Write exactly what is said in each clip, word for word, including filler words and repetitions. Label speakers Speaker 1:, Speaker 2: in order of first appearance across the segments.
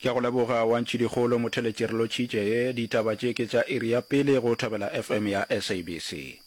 Speaker 1: Ke a go leboga wa Ntšhidikgolo Motheletši re lotšhitše. Ditaba tše ke tša iri ya pele go Thobela F M ya S A B C.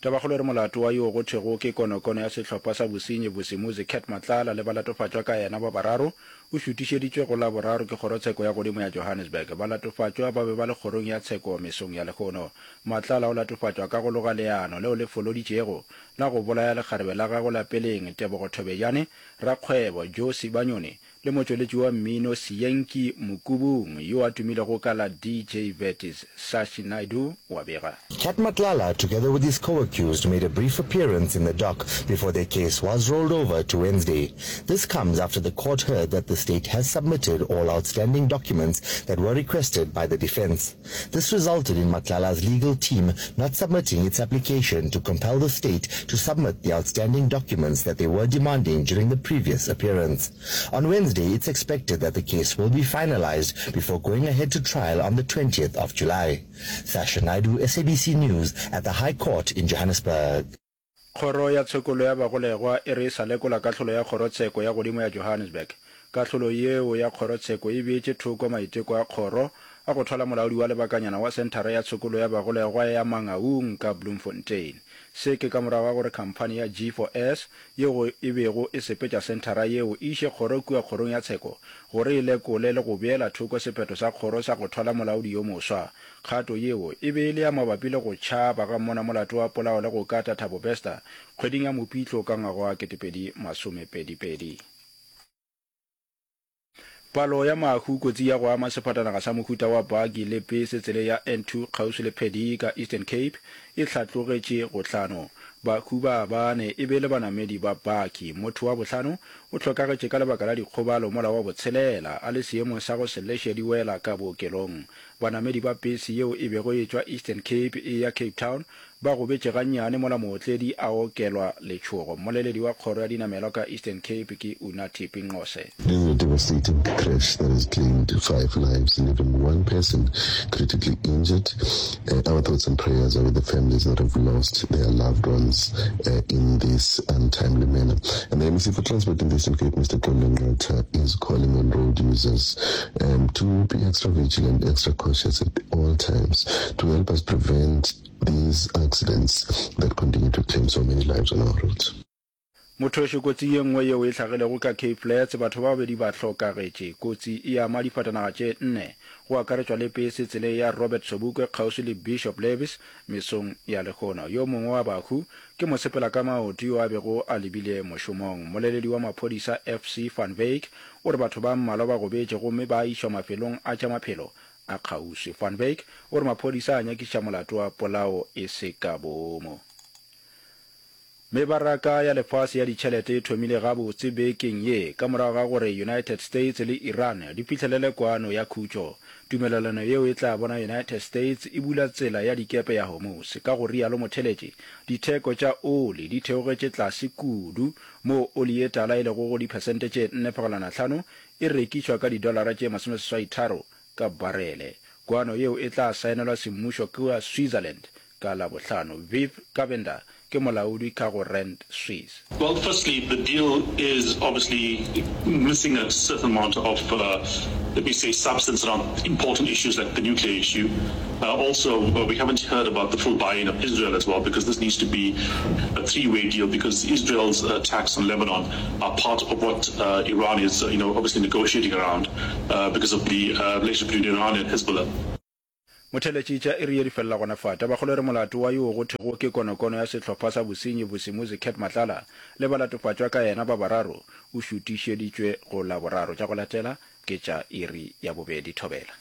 Speaker 1: Tabakgolo e re molato wa yoo go thwego ke konokono ya sehlopha sa bosenyi Vusimuzi Cat Matlala le balatofatšwa ka yena ba bararo o šutišeditšwe go Laboraro ke Kgorotsheko ya Godimo ya Johannesburg. Balatofatšwa ba be ba le kgorong ya tsheko mesong ya lehono. Matlala o latofatšwa ka go loga leano leo le foloditšego la go bolaya lekgarebe la gagwe la peleng Tebogo Thobejane, rakgwebo Joe Sibanyoni le motšweletši wa mmino Sienki Mokubung yo a tumilego ka la D J Vertis. Sashi Naidoo o a bega.
Speaker 2: Cat Matlala, together with his co-accused, made a brief appearance in the dock before their case was rolled over to Wednesday. This comes after the court heard that the state has submitted all outstanding documents that were requested by the defense. This resulted in Matlala's legal team not submitting its application to compel the state to submit the outstanding documents that they were demanding during the previous appearance. On Wednesday, it's expected that the case will be finalized before going ahead to trial on the twentieth of July. Sasha Naidoo, S A B C News, at the High Court in Johannesburg.
Speaker 1: Kgoro ya Tshokolo ya Bagolegwa e re e sa lekola kahlolo ya Kgorotsheko ya Godimo ya Johannesburg. Kahlolo yeo ya kgorotsheko e beetše thoko maiteko a kgoro a go thwala molaodi wa lebakanyana wa Senthara ya Tshokolo ya Bagolegwa ya Mangaung ka Bloemfontein. Se ke ka morago ga gore khamphani ya G four S yeo e bego e sepetša senthara yeo e iše kgoro kua kgorong ya tsheko gore e lekole le go beela thoko sephetho sa kgoro sa go thwala molaodi yo moswa. Kgato yeo e be e le ya mabapi le go tšhaba ga mmonamolato wa polao le go kata Thabo Bester kgweding ya Mopitlo ka ngwaga wa ketepedi masomepedi pedi. Palo ya mahu kotsi ya go ama sefatanaga sa mohuta wa baki le pese tseleng ya N two kgauswi le Peddie ka Eastern Cape e hlatlogetše go hlano. Bahu ba bane e be le banamedi ba baki. Motho wa bohlano o hlokagetše ka lebaka la dikgobalo mola wa botshelela a le seemong sa go se leše di wela ka bookelong. Banamedi ba pese yeo e bego e etšwa Eastern Cape e eya Cape Town ba gobetše gannyane mola mootledi a okelwa letšhogo. Mmoleledi wa kgoro ya dinamelwa ka Eastern Cape ke Unathi Binqose.
Speaker 3: This is a devastating crash that has claimed five lives, leaving one person critically injured. Uh, our thoughts and prayers are with the families that have lost their loved ones uh, in this untimely manner. And the M E C for Transport in the Eastern Cape, Mister Xolile Nqatha, is calling on road users um, to be extra vigilant, extra cautious at all times to help us prevent these accidents that continue to claim so many lives on our roads.
Speaker 1: Mothoši kotsi ye nngwe yeo e hlagilego ka Cape Flats, batho ba babedi ba hlokagetše. Kotsi e ama difatanaga tše nne, go akaretšwa le pese tseleng ya Robert Sobukwe kgauswi le Bishop Lavis mesong ya lehono. Yo mongwe wa bahu ke mosepela ka maoto yo a bego a lebile mošomong. Mmoleledi wa maphodisa F C van Wyk o re batho ba mmalwa ba gobetše gomme ba išwa mafelong a tša maphelo a kgauswi. Van Wyk o re maphodisa a nyakišiša molato wa polao e se ka boomo. Mebaraka ya lefase ya ditšhelete e thomile gabotse bekeng ye ka morago ga gore United States le Iran di fihlelele kwano ya khutšo. Tumelelano yeo e tla bona United States e bula tsela ya dikepe ya Hormuz. Ka go rialo motheletši, ditheko tša oli di theogetše tlase kudu, moo oli ye tala e lego go diphesente tše nne fegelwana hlano e rekišwa ka didolara tše masomeseswai tharo ka barele. Kwano yeo e tla saenelwa semmušo kua Switzerland ka Labohlano. Viv Govender ke molaodi ka go Rand Swiss.
Speaker 4: Well, firstly, the deal is obviously missing a certain amount of, uh, let me say, substance around important issues like the nuclear issue. Uh, also, uh, we haven't heard about the full buy-in of Israel as well, because this needs to be a three-way deal, because Israel's attacks on Lebanon are part of what, uh, Iran is, uh, you know, obviously negotiating around, uh, because of the, uh, relationship between Iran and Hezbollah.
Speaker 1: Motheletši tša iri ye di felela gona fa. Tabakgolo e re molato wa yoo go thwego ke konokono ya sehlopha sa bosenyi Vusimuzi Cat Matlala le balatofatšwa ka yena ba bararo o šutišeditšwe go Laboraro. Tša go latela ke tša iri ya bobedi. Thobela.